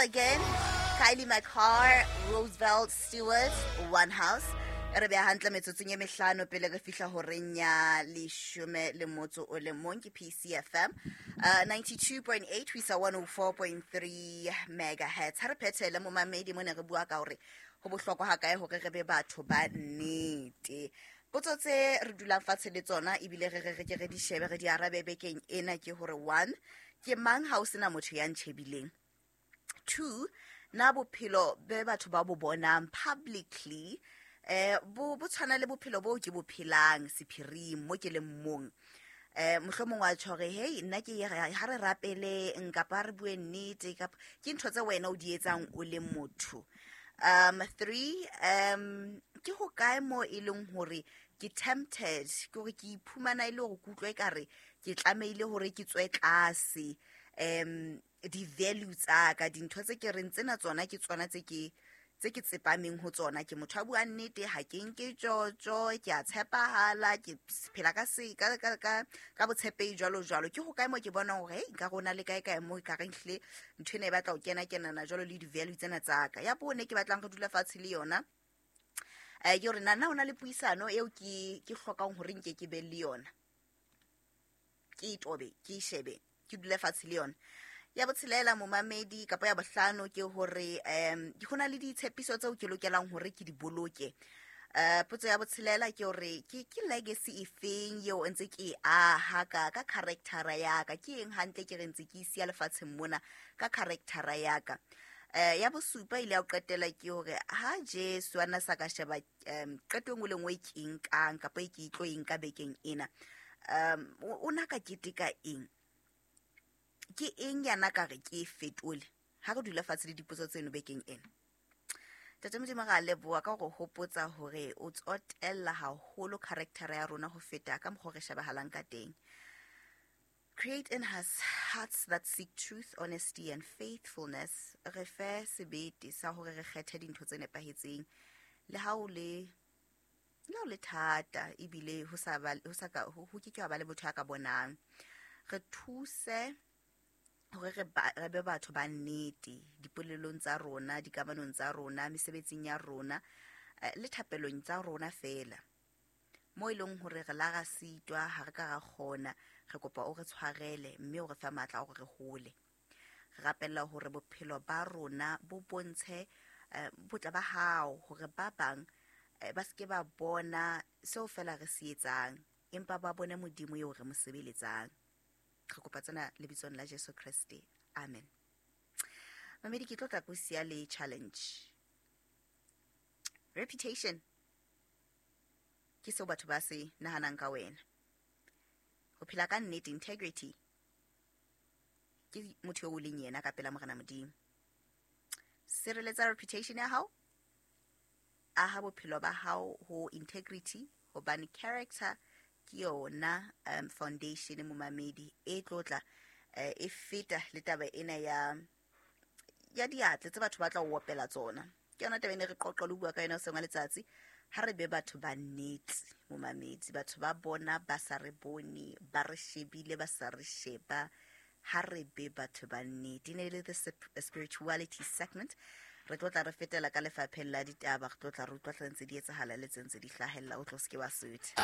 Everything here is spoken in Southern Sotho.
Again, Kylie McCarr, Roosevelt Stewart, One House. E re beha hantle metsotsong e mehlano pele re fihla horeng ya leshome le motso o le mong. Ke PCFM 92.8 ho isa 104.3 megahertz. Ha re phethele, momamedi, mo ne re bua ka hore ho bohlokwa hakae hore re be batho ba nnete. Potso tse re dulang fatshe le tsona ebile re re re ke re di shebe, re di arabe bekeng ena ke hore: one, ke mang ha o sena motho ya ntjhebileng? Two, na bophelo be batho ba bo bonang publicly bo tshwana le bophelo bo ke bo phelang sephiring mo ke leng mong? Mohlomong wa tjho hore, "Hey, nna ke ha re rapeleng kapa ha re bue nnete," kapa ke ntho tse wena o di etsang o le motho? Three, ke ho kae mo e leng hore ke tempted, ke hore ke iphumana e le hore ke utlwe ekare ke tlamehile hore ke tswe tlase di-value tsa ka, dintho tse ke reng tsena tsona ke tsona tse ke tsepameng ho tsona? Ke motho a buang nnete, ha ke nke tjotjo, ke a tshepahala, ke phela ka se ka ka ka ka botshepehi, jwalo jwalo. Ke ho kae mo ke bonang hore, hey, nka rona le kae kae mo e ka reng hlile ntho ena e batla ho kena kenana jwalo le di-value tsena tsa ka? Ya bone ke batlang re dula fatshe le yona ke hore na ho na le puisano eo ke hlokang hore nke ke be le yona, ke e tobe, ke e shebe, ke dule fatshe le yona? Ya botshelela, momamedi, kapa ya bohlano, ke hore ho na le ditshepiso tseo ke lokelang hore ke di boloke. Potso ya botshelela ke hore ke legacy efeng eo ntse ke e aha ka charactera ya ka? Ke eng hantle ke re ntse ke isiya lefatsheng mona ka charactera ya ka? Ya bosupa ile ya ho qetela ke hore ha Jesu a na sa ka sheba qeto e nngwe le nngwe e ke e nkang kapa e ke e tlo e nka bekeng ena, o na ka keteka eng? Ke eng yana ka re ke e fetole? Ha re dula fatshe le dipotso tseno bekeng ena. Tate Modimo, re a leboha ka hore hopotsa hore o tsotella haholo character ya rona ho feta ka mokgwa o re shebahalang ka teng. Create in us hearts that seek truth, honesty and faithfulness. Re fe sebete sa hore re kgethe dintho tse nepahetseng le ha o le thata, ebile ho sa ba ho sa ka ho ke ke wa ba le motho ya ka bonang. Re thuse hore re be batho ba nnete dipolelong tsa rona, dikamanong tsa rona, mesebetsing ya rona, le thapelong tsa rona fela. Mo e leng hore re la ra sitwa, ha re ka ra kgona, re kopa o re tshwarele mme o re fe matla a hore re hole. Re rapella hore bophelo ba rona bo bontshe botle ba hao, hore ba bang ba seke ba bona seo fela re se etsang, empa ba bone Modimo eo re mo sebeletsang. Re kopa tsena lebitsong la Jesu Kreste, amen. Mamedi, ke tlo tla ko siya le challenge. Reputation ke seo batho ba se nahanang ka wena. Ho phela ka nnete, integrity, ke motho eo o leng yena ka pela Morena Modimo. Sireletsa reputation ya hao, aha bophelo ba hao ho integrity, hobane character ke yona foundation, momamedi, e tlotla e feta le taba ena ya diatle tse batho ba tla o opela tsona. Ke yona taba ene re qoqa le bua ka yona hoseng wa letsatsi. Ha re be batho ba nnete, momamedi. Batho ba bona ba sa re bone, ba re shebile ba sa re sheba. Ha re be batho ba nnete. E ne e le the spirituality segment. Re tlo tla re fetela ka lefapheng la ditaba, re tlo tla re utlwa tse ntse di etsahala le tse ntse di hlahella. O tlo se ke wa sutha.